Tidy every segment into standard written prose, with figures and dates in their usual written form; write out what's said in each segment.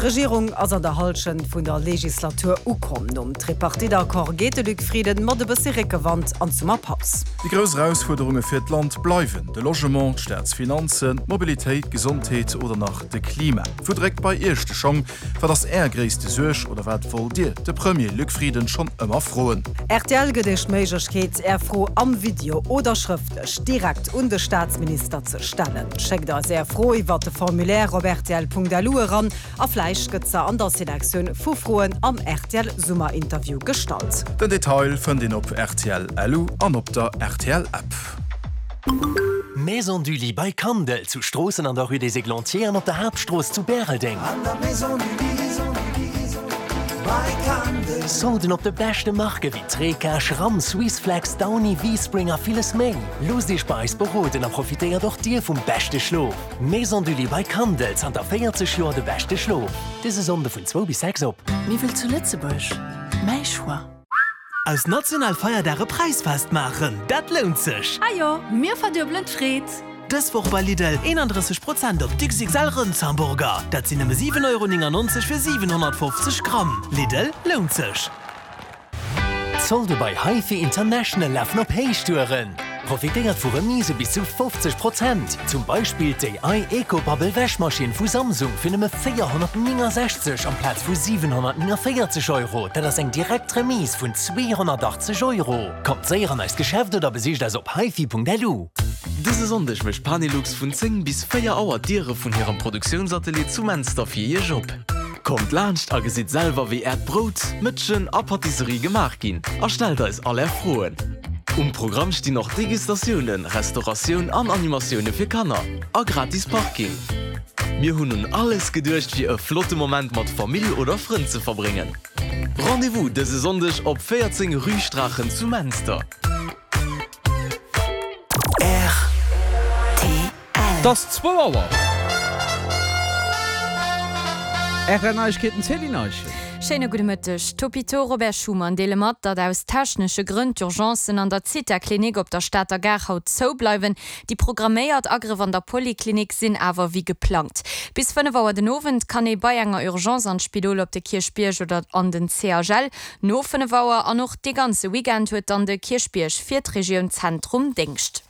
D'Regierung ass an der Hallschent vun der Legislatur ukomm. Nom Tripartite-Accord geet de Luc Frieden mat e bëssi Réckewand an d'Summerpaus. Déi grouss Erausfuerderunge fir d'Land bleiwen de Logement, d'Staatsfinanzen, d'Mobilitéit, d'Gesondheet oder nach de Klima. Wou dréckt bei Iech de Schong? Wat ass Är gréisste Suerg oder wat wollt Dir de Premier Luc Frieden schonn ëmmer froen? Rtl gëtt Iech d'Méiglechkeet, Är Fro am Video oder schrëftlech direkt un de Staatsminister ze stellen. Schéckt eis Är Fro iwwert de Formulaire op rtl.lu eran a vläicht gëtt se an der Selektioun vu Froen am rtl Summerinterview gestallt. Den Detail fënnt een op rtl.lu an op der rtl App. Maison du Lit bei Kandel, zu Stroossen an der Rue des Églantiers an op der Haaptstrooss zu Bäreldeng. Solden op de beschte Marke wéi Treca, Schramm, Swissflex, Downy, V-Spring a villes méi. Loosst Iech bei eis beroden a profitéiert och Dir vum beschte Schlof. Maison du Lit bei Kandel, zanter 40 Joer de beschte Schlof. Dëse Sonnde vun zwou bis 6 op. Miwwel zu Lëtzebuerg, mäi Choix. Aus national Feierdag e Präisfest maachen, dat lount sech! Ajo, mir verduebelen d'Freed! Dës Woch bei Lidl 31 Prozent op d'XXL Rëndshamburger, dat sinn nëmme 7,99 Euro fir 750 Gramm. Lidl, lount sech! D'Solde bei HiFi International lafen op Héichtouren! Profitéiert vu Remise bis zu 50 Prozent! Zum Beispill d'AI Eco Bubble Wäschmaschinn vu Samsung fir nëmme 469 amplaz vu 749 Euro, dat ass eng direkt Remise vun 280 Euro! Kommt séier an eist Geschäft oder besicht eis op hifi.lu. Dëse Sonndeg mécht Panelux vun 10 bis 4 Auer d'Diere vun hirem Produktiounsatelier zu Menster fir Iech op. Kommt laanscht a gesitt selwer wéi äert Brout, Mëtschen a Patisserie gemaach ginn a stellt eis all är Froen. Um Programm stinn och Degustatiounen, Restauratioun an Animatioune fir Kanner a gratis Parking. Mir hunn un alles geduecht fir e flotte Moment mat Famill oder Frënn ze verbréngen. Rendez-vous dëse Sonndeg op 14 Rue Straachen zu Menster. Rtl. 't ass zwou Auer. Rtl Neiegkeeten, Céline Eischen. Schéine gudde Mëtteg. D'Hôpitaux Robert Schuman deele mat, datt aus technesche Grënn d'Urgencen an der Zitha-Klinik op der Stater Gare haut zou bleiwen. Déi programméiert Agrëff an der Poliklinik sinn awer wéi geplangt. Bis 5 Auer den Owend kann ee bei enger Urgence an d'Spidol op de Kierchbierg oder an den CHL. No 5 Auer an och dee ganze Weekend huet dann de Kierchbierg fir d'Regioun Zentrum Déngscht.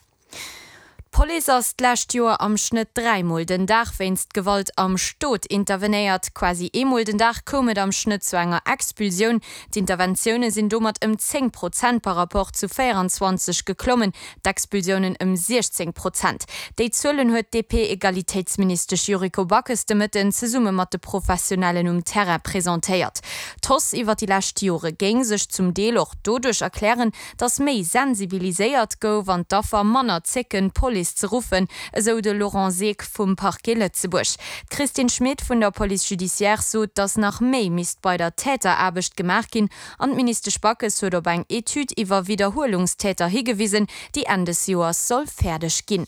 D'Police ass d'lescht Joer am Schnëtt dräimol den Dag wéinst Gewalt am Stot intervenéiert. Quasi eemol den Dag koum et am Schnëtt zu enger Expulsioun. D'Interventioune sinn domat ëm 10 Prozent par Rapport zu 24 geklommen, d'Expulsiounen ëm 16 Prozent. Déi Zuelen huet d'DP-Egalitéitsministesch Yuriko Backes de Mëtten zesumme mat de Professionellen um Terrain presentéiert. D'Hausse iwwer déi lescht Jore géing sech zum Deel och doduerch erklären, Datt méi sensibiliséiert gouf an d'Affer manner zécken, d'Police ze ruffen, esou de Laurent Seeck vum Parquet Lëtzebuerg. D'Christine Schmit vun der Police judiciaire sot, datt nach méi misst bei der Täteraarbecht gemaach ginn an d'Ministesch Backes huet op eng Etüd iwwer Widderhuelungstäter higewisen, déi Enn des Joers soll fäerdeg ginn.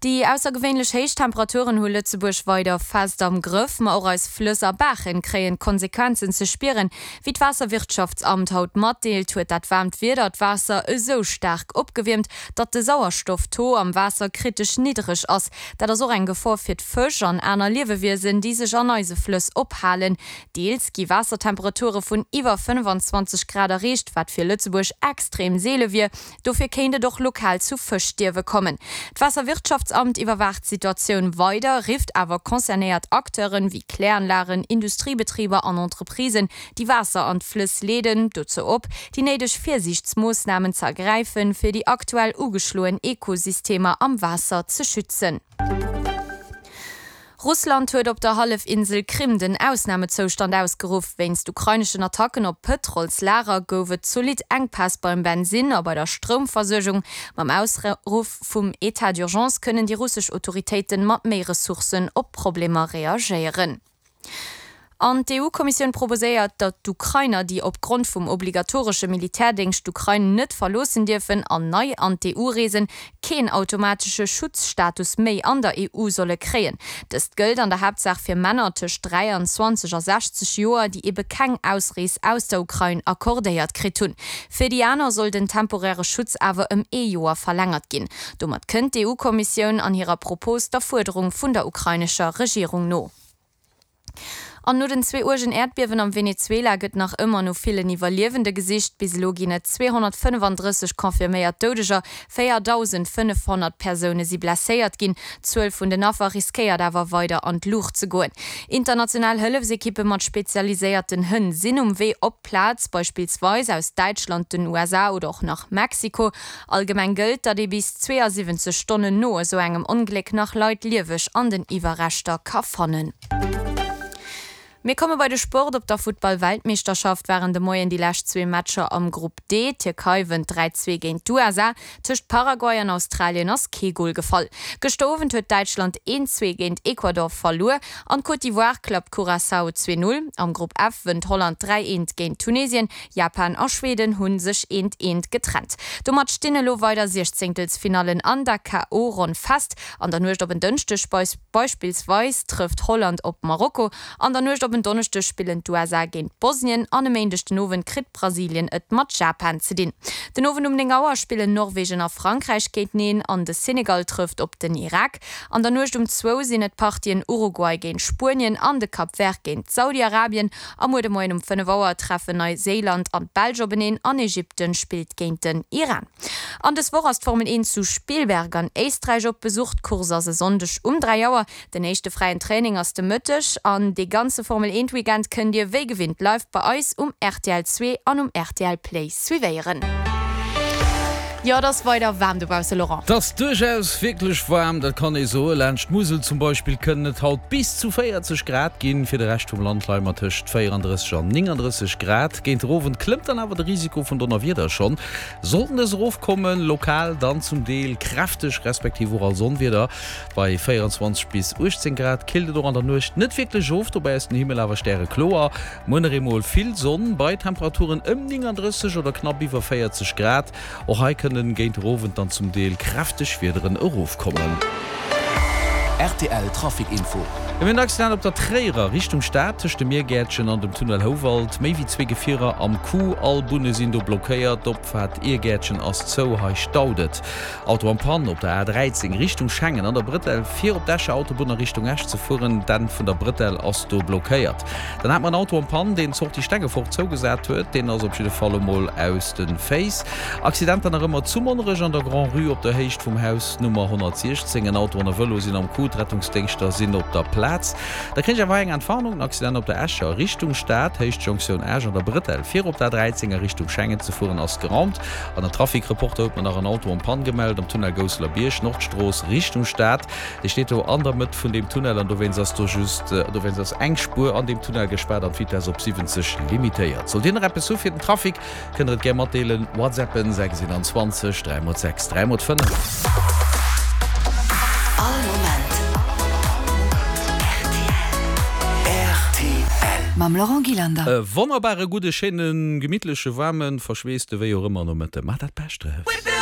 Déi aussergewéinlech héich Temperaturen hu Lëtzebuerg weider fest am Grëff. Ma och eis Flëss a Baachen kréien d'Konsequenzen ze spieren. Wéi d'Waasserwirtschaftsamt haut matdeelt, huet dat waarmt Wieder d'Waasser esou staark opgewiermt, datt de Sauerstoff-Taux am Waasser kritesch niddereg ass. Dat ass och eng Gefor fir d'Fësch an aner Liewewiesen, déi sech an eise Flëss ophalen. Deels gi Waassertemperature vun iwwer 25 Grad erreecht, wat fir Lëtzebuerg extrem seele wier. Dofir kéint et och lokal zu Fëschstierwe kommen. D'Waasserwirtschaftsamt iwwerwaacht d'Situatioun weider, rifft awer concernéiert Acteuren, wéi Kläranlagen, Industriebetriber an Entreprisen, déi Waasser an d'Flëss leeden, dozou op, déi néideg Virsiichtsmoossnamen ze ergräifen, fir déi aktuell ugeschloen Ekosystemer am Waasser ze schützen. Russland huet op der Hallefinsel Krim den Ausnamezoustand ausgeruff. Wéinst ukraineschen Attacken op Pëtrolslager gouf et zolidd Enkpäss beim Bensinn a bei der Stroumversuergung. Mam Ausruff vum Etat d'urgence kënnen déi russesch Autoritéiten mat méi Ressourcen op d'Problemer reagéieren. An d'EU-Kommissioun proposéiert, datt d'Ukrainer, déi opgrond vum obligatoresche Militärdéngscht d'Ukrain net verloossen dierfen an nei an d'EU reesen, keen automatesche Schutzstatus méi an der EU solle kréien. Dëst gëllt an der Haaptsaach fir Männer tëscht 23 a 60 Joer, déi ebe keng Ausrees aus der Ukrain accordéiert kritt hunn. Fir déi aner soll den temporäre Schutz awer ëm ee Joer verlängert ginn. Domat kënnt d'EU-Kommissioun an hirer Propos der Fuerderung vun der ukrainescher Regierung no. An no den zwee uergen Äerdbiewen am Venezuela gëtt nach ëmmer no villen Iwwerliewende gesicht. Bis elo ginn et 235 confirméiert Doudeger, 4.500 Persoune si blesséiert ginn. D'Zuel vun den Affer riskéiert awer weider an d'Luucht ze goen. International Hëllefsekippe mat spezialiséierten Hënn sinn um Wee op d'Plaz, beispillsweis aus Däitschland, den USA oder och nach Mexiko. Allgemeng gëllt, datt ee bis 72 Stonnen no esou engem Ongléck nach Leit lieweg an den Iwwerreschter ka fannen. Mir komme bei de Sport. Op der Futtball-Weltmeeschterschaft waren de Moien déi lescht zwee Matcher am Grupp D. D'Tierkei wënnt 3, 2 géint d'USA. Tëscht Paraguay an Australien ass kee Gol gefall. Gëschter Owend huet Däitschland 1, 2 géint Ecuador verluer an d'Côte d'Ivoire klappt Curaçao 2, 0. Am Grupp F wënnt Holland 3, 1 géint Tunesien. Japan a Schweden hu sech eent eent getrennt. Domat stinn elo weider Siechzéngtelsfinallen an der KO-Ronn fest. An der Nuecht op en Dënschdeg beispillsweis trëfft Holland op Marokko, an der Nuecht op en Donneschdeg spillen d'USA géint Bosnien an e Méindeg den Owend kritt Brasilien et mat Japan ze dinn. Den Owend um 9 Auer spillen Norwegen a Frankräich géinteneen an de Senegal trëfft op den Irak. An der Nuecht um zwou sinn et d'Partien Uruguay géint Spuenien an de Cap Vert géint Saudi-Arabien. A muer de Moien um 5 Auer treffen Neiséiland an d'Belsch openeen an Ägypten spillt géint den Iran. An dës Woch ass d'Formel 1 zu Spielberg an Éisträich op Besuch. D'Course ass e Sonndeg um 3 Auer. Den éischte fräien Training ass de Mëtteg an dee ganze Formel 1 Weekend kënnt Dir wéi gewinnt live bei eis um rtl 2 an um rtl Play suivéieren. Jo, et ass weider waarm dobausse, Laurent. Et ass duerchaus wierklech waarm, dat kann ee soen. Laanscht d'Musel zum Beispill kënnen et haut bis zu 40 Grad ginn. Fir de Rescht vum Land leie mer tëscht 34 an 39 Grad. Géint den Owend klëmmt dann awer de Risiko vun Donnerwieder schonn. Sollten dës erofkommen, lokal dann zum Deel kräfteg respektiv och als Onwieder. Bei 24 bis 18 Grad killt et och an der Nuecht net wierklech of, dobäi ass den Himmel awer stärekloer. Muer nach eemol vill Sonn bei Temperaturen ëm 39 oder knapp iwwer 40 Grad. Och hei kënnen géint der Owend dann zum Deel kräfteg Wiederen erofkommen. Rtl Trafic Info. Mir hunn en Accident op der Tréierer Richtung Stad, tëscht dem Miergäertchen an dem Tunnel Houwald. Méi wéi zwee Gefierer am Coup, all Bunne sinn do blockéiert. D'Opfaart Iergäertchen ass zou, hei staut et. Auto en Panne op der A 13 Richtung Schengen an der Brëtell fir op d'Escher Autobunn a Richtung Esch ze fueren. D'Enn vun der Brëtell ass do blockéiert. Dann hat mer en Auto en Panne, deen d'Sortie Stengefort zougesat huet. Deen ass op jidde Fall emol aus de Féiss. Accidenter nach ëmmer zu Monnerech an der Grand-Rue op der Héicht vum Haus Nummer 116. En Auto an e Vëlo sinn am Coup. D'Rettungsdéngschter sinn op der Plaz. Da kréich ech awer hei eng Entwarnung, En Accident op der Escher Richtung Stad, Héicht Jonktioun Esch an der Brëtell fir op der A 13 a Richtung Schengen ze fueren ass geraumt. An der Trafic-Reporter huet mer nach en Auto en panne gemellt am Tunnel Gousseler Bierg, Nordstrooss, Richtung Stad. Dee steet do an der Mëtt vun deem Tunnel an dowéinst ass do just, dowéinst ass eng Spuer an deem Tunnel gespaart an d'Vitess op 70 limitéiert. Sollt Dir nach eppes hu fir den Trafic, kënnt der et gär matdeelen, WhatsAppen 6 21 3 x 6 3 x 5. All Moment rtl. Mam Laurent Gillander. E wonnerbare gudde, schéinen, gemittleche, waarmen, verschweesste, wéi och ëmmer Nomëtte. Maacht dat Bescht draus!